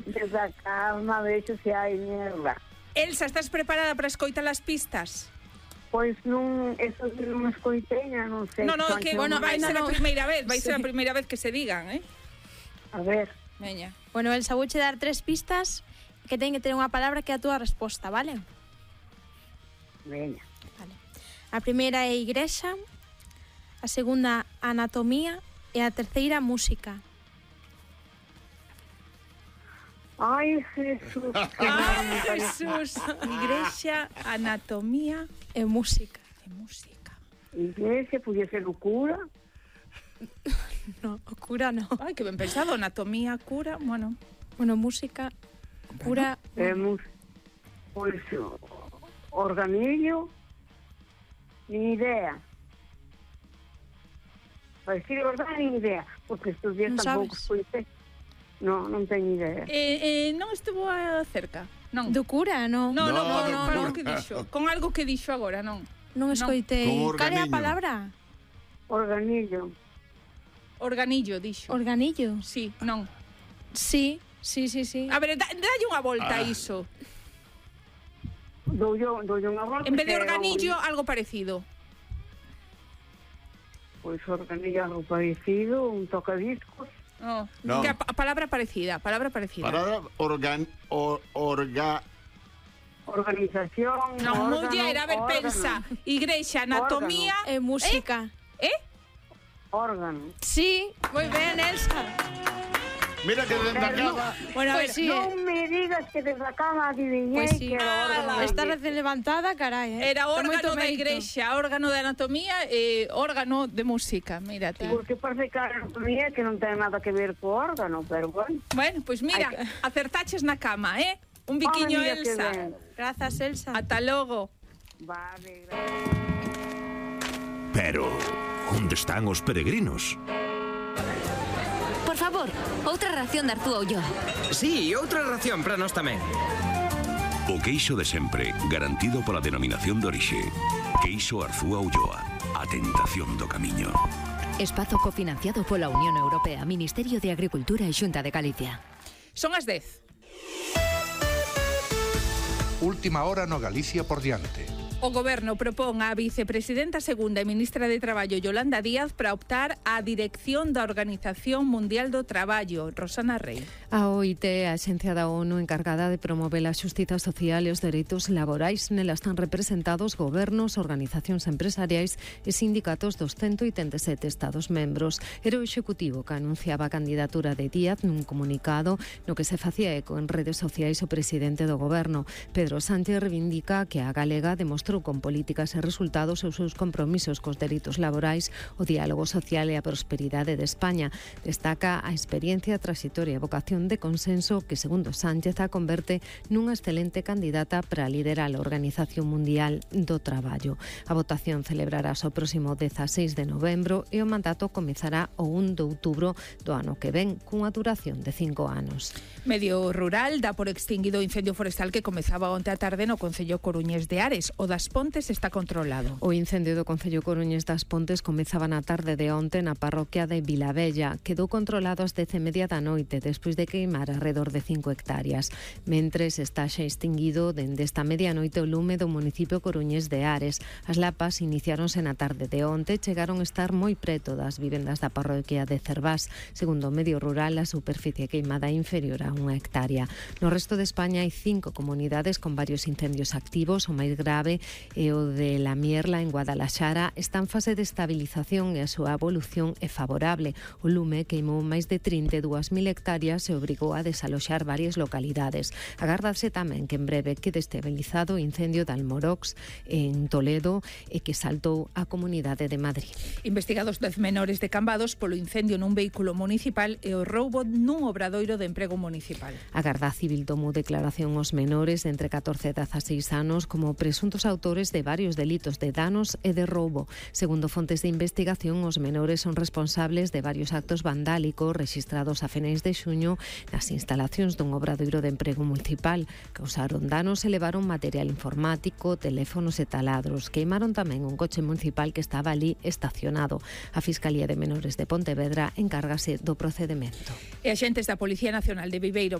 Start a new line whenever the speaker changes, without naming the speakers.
Desde a calma, vexo se hai mierda.
Elsa, estás preparada para escoitar as pistas?
Pois non, eso non escoiteña, non sei.
No, que, bueno, vai ser a primeira vez, ser a primeira vez que se digan,
A ver.
Veña.
Bueno, Elsa, vouche dar 3 pistas que ten que ter unha palabra que é a túa resposta, vale?
Veña.
Vale. A primeira é igrexa, a segunda anatomía e a terceira música.
Ai, Jesús.
Ai, Jesús. Igrexa, anatomía
e música.
Iglesia, podía ser o cura.
No, o cura no.
Ai, que ben pensado, anatomía, cura, bueno.
Bueno, música, cura...
Pois, organillo, nin idea. Para decir a verdade, nin idea, porque estes días tampouco escoitei. Non teño idea.
Non estuvo cerca, non?
Do cura, non?
Non, con algo que dixo agora, non?
Non escoitei. Cal é a palabra?
Organillo.
Organillo, dixo.
Organillo?
Sí, non.
Sí.
A ver, dalle unha volta a iso.
Doulle unha volta.
En vez de organillo, algo parecido.
Pois organillo algo parecido, un tocadiscos.
No. Que a palabra parecida.
Palabra
organización.
Non, muller, a ver, pensa. Igrexa, anatomía
e música.
Órgano.
Sí, moi ben, Elsa.
Mira que desde a cama...
Bueno, a ver, sí.
Non me digas que desde a cama adivinhei que era órgano.
Está recién levantada, carai.
Era órgano da igrexa, órgano de anatomía e órgano de música, mírate.
Porque parece que a anatomía que non ten nada que ver co órgano, pero bueno.
Bueno, pois mira, acertaches na cama, Un biquiño, Elsa.
Grazas, Elsa.
Ata logo.
Vale,
Pero, onde están os peregrinos?
Por favor, outra ración de Arzúa Ulloa.
Sí, outra ración para nós tamén.
O queixo de sempre, garantido pola denominación de orixe. Queixo Arzúa Ulloa, a tentación do camiño.
Espazo cofinanciado pola Unión Europea, Ministerio de Agricultura e Xunta de Galicia.
Son as 10.
Última hora no Galicia por diante.
O Goberno propón á vicepresidenta segunda e ministra de Traballo Yolanda Díaz para optar á dirección da Organización Mundial do Traballo, Rosana Rey.
A OIT, a axencia da ONU encargada de promover a xustiza social e os dereitos laborais, nela están representados gobernos, organizacións empresariais e sindicatos dos 187 Estados membros. Era o Executivo que anunciaba a candidatura de Díaz nun comunicado no que se facía eco en redes sociais o presidente do Goberno. Pedro Sánchez reivindica que a galega demostrou con políticas e resultados os seus compromisos cos dereitos laborais, o diálogo social e a prosperidade de España. Destaca a experiencia, trayectoria e vocación de consenso que, segundo Sánchez, a converte nunha excelente candidata para liderar a Organización Mundial do Traballo. A votación celebrarás o próximo 16 de novembro e o mandato comezará o 1 de outubro do ano que ven, cunha duración de 5 anos.
Medio rural dá por extinguido o incendio forestal que comezaba onte á tarde no concello coruñés de Ares. O das Pontes está controlado.
O incendio do concello coruñés das Pontes comezaba na tarde de onte na parroquia de Vilavella. Quedou controlado ás 10:30 da noite despois de queimar alrededor de 5 hectáreas. Mentres está xa extinguido dende esta medianoite o lume do municipio coruñés de Ares. As lapas iniciáronse na tarde de onte, chegaron a estar moi preto das vivendas da parroquia de Cervás. Segundo o medio rural, a superficie queimada é inferior a 1 hectárea. No resto de España hai 5 comunidades con varios incendios activos. O máis grave e o de La Mierla en Guadalaxara está en fase de estabilización e a súa evolución é favorable. O lume queimou máis de 32.000 hectáreas e obrigou a desaloxar varias localidades. Agardase tamén que en breve quede estabilizado o incendio de Almorox en Toledo e que saltou a Comunidade de Madrid.
Investigados 10 menores de Cambados polo incendio nun vehículo municipal e o roubo nun obradoiro de emprego municipal.
A Garda Civil tomou declaración aos menores de entre 14 e 16 anos como presuntos autores de varios delitos de danos e de roubo. Segundo fontes de investigación, os menores son responsables de varios actos vandálicos rexistrados a finais de xuño nas instalacións dun obradoiro de emprego municipal. Causaron danos e levaron material informático, teléfonos e taladros. Queimaron tamén un coche municipal que estaba ali estacionado. A Fiscalía de Menores de Pontevedra encárgase do procedemento.
E axentes da Policía Nacional de Viveiro